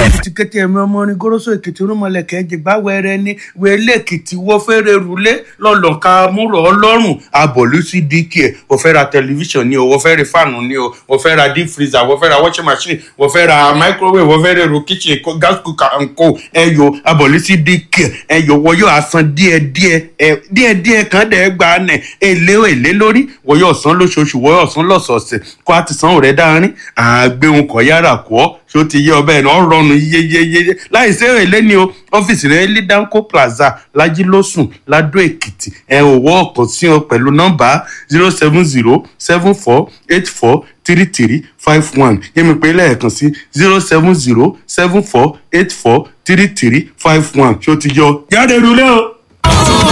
Èkìtì kété ẹ̀mí ọmọ orin goroso Èkìtì rúmọlẹ̀kẹ́ jìgbà wẹrẹ ní wẹlé Èkìtì wọ́n fẹ́rẹ̀ rúlé lọ́lọ́ka múrò ọlọ́run abọ̀lú sí dk ẹ̀ wọ́n fẹ́ ra tẹlifíṣàn ni o, wọ́n fẹ́ ra fáànù ni o, wọ́n fẹ́ ra deep freezer, wọ́n fẹ́ ra washing machine, wọ́n fẹ́ ra microwave, wọ́n fẹ́ ra èrò kitchen, gas cooker and co. Ẹ̀yọ abọ̀lú sí dk ẹ̀yọ wọ́n yóò san díẹ̀díẹ̀ ẹ̀ díẹ̀díẹ̀ kan dẹ̀ gba nẹ̀ èlé èlé lórí, wọ́n yóò san lóṣooṣù, wọ́n yóò san lọ́sọ̀ọ̀sẹ̀ kó a ti san rẹ̀ dáárín àgbéhùn kọ̀ yára kọ́ ṣó ti yé ọbẹ̀ náà rọrùn yeyeyeye láì sí èlé ni o. Ọ́fíìsì rẹ̀ ní Danco Plaza, Lajilósùn, Ladó Èkìtì. Ẹ ò wọ́ ọ̀kan sí ọ pẹ̀lú nọ́mbà 07074843351. Yẹ́mi pé lẹ́ẹ̀kan sí 07074843351. Ṣó ti yọ jáde rúlé o.